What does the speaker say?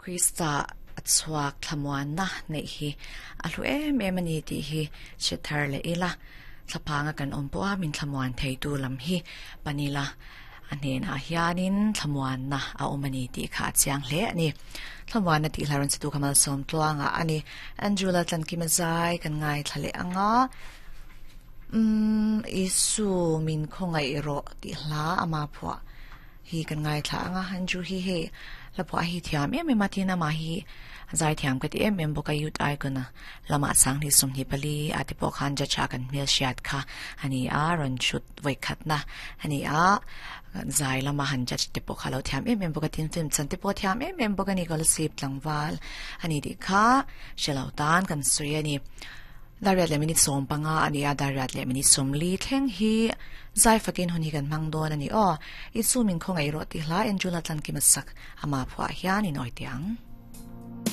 Krista a chhuak thlamuanna neih hi a hlu em em a ni tih hi hre thar leh ila. Thlaphanga kan awm pawh a min thlamuan theitu lam hi pan ila a hnenah hianin thlamuanna a awm a ni tih kha a chiang hle a ni. Thlamuanna tih hla rawn che tu kha malsawm tluangah a ni. Andrew Laltlankima zai kan ngaithla leh ang a, Umm Isu min khawngaih rawh tih hla ama phuah hi kan ngaithla ang a, Andrew hi hei hla phuah hi thiam em em a tin amah hi zai thiam ka ti em em bawk a Youth Icon a lamah Sanghnih 24 a te pawh khan judge a kan hmelhriat kha a ni a, rawn chhut vawikhatna a ni a, zai lama han judge te pawh kha a lo thiam em em bawk a tin film chan te pawh a thiam em em bawk a ni Kolasib tlangval a ni tih kha hre lo tan kan sawi a ni. Dariat leh minute 15 a ni a, Dariat leh minute 40 thleng hi zai fakin hun hi kan hmang dawn a ni aw. I chu min khawngaih rawh tih hla Angela Tlankima sak ama phuah hian in awih teh ang.